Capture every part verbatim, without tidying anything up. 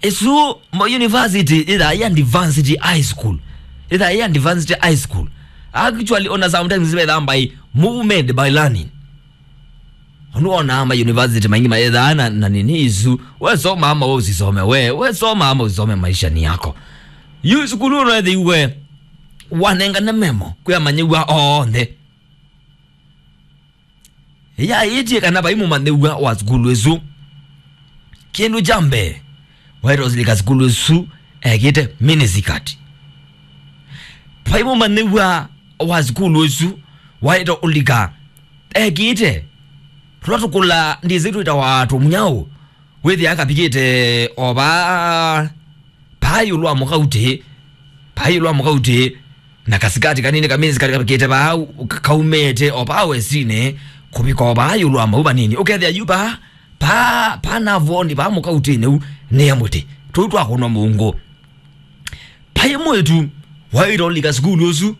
Ĩsu mo university ĩthaa ya advanced high school. Ĩthaa ya advanced high school. Actually, ona sometimes vethaa by movement by learning. Onu ona ma university maingi maethaa na, na nini isu. We soma ama we usisome we. We soma ama usisome maisha ni yako. Yu sukulu ũrethĩiwe wanengane memo kwĩ amanyĩw'a onthe. Yaĩtye kana vai mũmanyĩw'a wa sukulu ĩsu. Kĩndũ kya mbee, waĩtwa ũsilika sukulu ĩsu ekĩte miniskirt. Vai mũmanyĩw'a wa sukulu ĩsu waĩtwa ũlika ekĩte tũla tũkũla ndĩsĩ twĩtawa tũmũnyaũ. Wĩthĩa kavikĩte o vaa, paa ĩũlũ wa mũkautĩ, paa ĩũlũ wa mũkautĩ, na kasikati kanini kaminiskirt kavikĩte vaa, ka-, kaumĩte o vaa wesinĩ, kũvika o vaa ĩũlũ wa mau vanini. Ũkethĩa yu vaa, paa, paa navoni vaa mũkautĩnĩ u, nĩ mũtĩ. Tũu twakũnwa mũungu. Vai mwĩĩtu waĩtwa ũlika sukulu ũsu,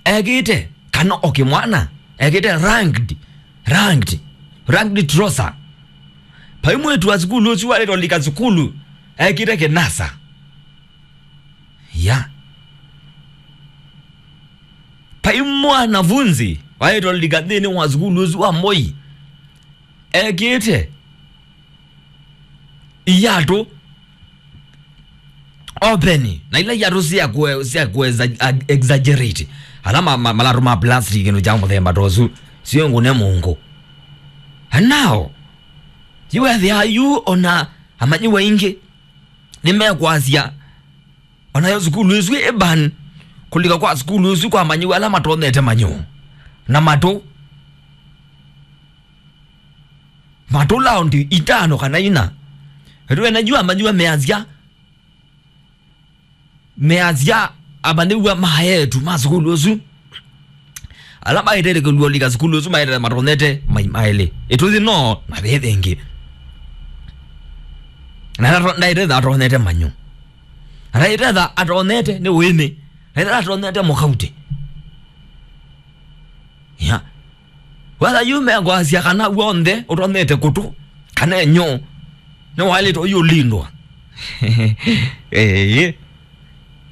ekĩte, kana o kĩmwana, ekĩte ragged, ragged, ragged trouser. Vai mwĩĩtu wa sukulu ũsu waĩtwa ũlika sukulu, ekĩte kĩnasa. Ya. Vai mwanafunzi waĩtwa ũlika nthĩnĩ wa sukulu ũsu wa Moi, ekĩte iatũ open, na ila iatũ sya kue-, sya kue-, exa-, exaggerate. Ala ma, ma, malatũ ma plastic kĩndũ kya mũthemba ta ũsu, sio ngũne mũungu. And now, yu ethĩa yu ona amanyĩw'a aingĩ nĩmekwasya, onayo sukulu ĩsu ĩ ban, kũlika kwa sukulu ĩsu kwa amanyĩw'a ala matonyete manyũ na matũ. Matũ laundi itano kana ina. Ĩtwena yu amanyĩw'a measya, measya amanyĩw'a ma eĩtu ma sukulu ũsu. Ala maĩtĩte kũlũlika sukulu ũsu maĩtĩte matonyete mai maĩlĩ. Ĩtũthi no na vĩthĩ ĩngĩ. Na ndaĩtĩte atonyete manyũ. Na ndaĩtĩte atonyete nĩ ũĩmĩ. Ndaĩtĩte atonyete mũkautĩ. Ya. Wetha yu mekwasya kana w'onthe ũtonyete kũtũ, kana enyũ, nĩwaĩlĩtwe ũyũlindwa. Ĩĩ.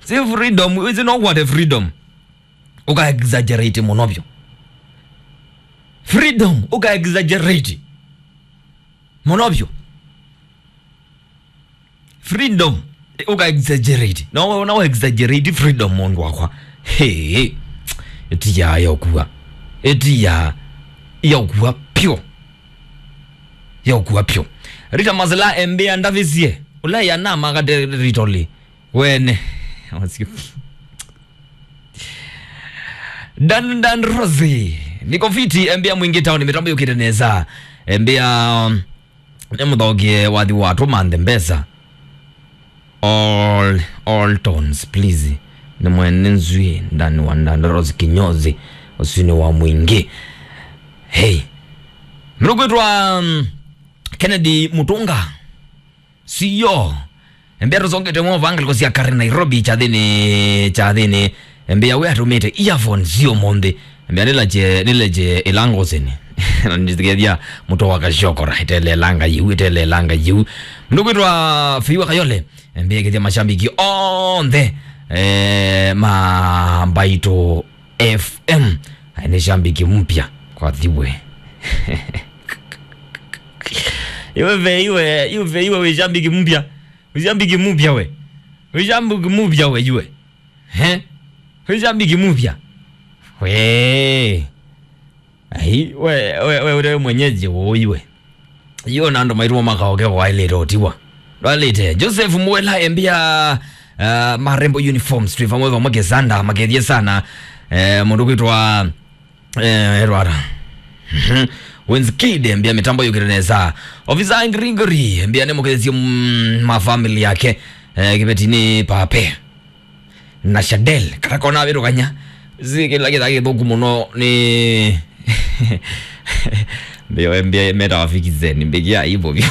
Si freedom, ĩsu no kwate freedom. Ũka exaggerate mũno vyũ. Freedom, ũka exaggerate mũno vyũ. Freedom, ũka exaggerate. No, no exaggerate freedom, mũndũ wakwa. Hey, ĩtiya yokua. Ĩtiya yokua pyo. Yokua pyo. Rita Masela embĩa ndavisie. Ũla yanama kate ritoli. Wene. Dan, Dan Rosie. Niko fiti, embĩa mwingi town, mitambo yukite neza. Embĩa, um, nĩ mũthokie wathi wa tũmanthe mbesa. All, all tones, please. Nĩ mwene nzui, ndani wa ndandorosi kinyozi, ũsuni wa mwingi. Hey. Mrukwitwa, um, Kennedy Mutunga. Siyo. Embĩa tũsongete mo vangaliko sya kare Nairobi, kyathĩnĩ, kyathĩnĩ. Embĩa we atũmĩte earphones sio monthĩ. Embĩa nĩlaje, nĩleje ilangoseni. Na nĩthikethia mũto wa kashokora. Ĩtelelanga yiu, ĩtelelanga yiu. Mndũ kwĩtwa Fiwa Kayole. Embĩa kĩthya mashambiki onthe. Eh, ma Mbaitũ F M. Ai, nĩ shambiki mpya kwa thiwe. Iwe ve iwe, iwe ve iwe we shambiki mpya. We shambiki mpya we. We shambiki mpya we iwe. He? We shambiki mpya. We. Ai, we, we, we, we mwenyeji wo iwe. Yo na andũ maitũ makaoke kwaĩlĩte ũtiwa. Ndwaĩlĩte. Joseph Muela embĩa, uh, Marembo Uniforms, twĩ vamwe vamwe Kesanda, makethie sana. Eh, mũndũ kwĩtwa, eh, Edward. Mhm. Wins Kid embĩa mĩtambo yũkĩte nesa. Officer Gregory embĩa nĩ mũkethie, mm, ma family yake. Eh, kĩvetinĩ pape. Na Shadel, kata kona wĩtũkany'a. Si kĩla kĩthaa kĩthũku mũno nĩ mbio mbio metawa fikizeni, mbĩkĩa ivo vyo.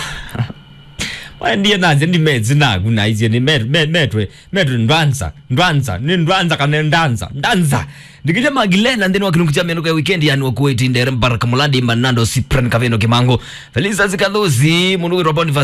Waendie nacio ndi metsi naku na icio nĩ met-, met-, metwe, metwe ndwanza, ndwanza, nĩ ndwanza kana ndanza, ndanza. Ndikĩte Magilena nthĩnĩ wa kĩlungu kya mĩanũko ya weekend yani wa kuweti ndere Mbaraka Mulandi Manando Cyprian Kavendo Kimango. Felisa Zikathusi, mũndũ wĩtwa Boniface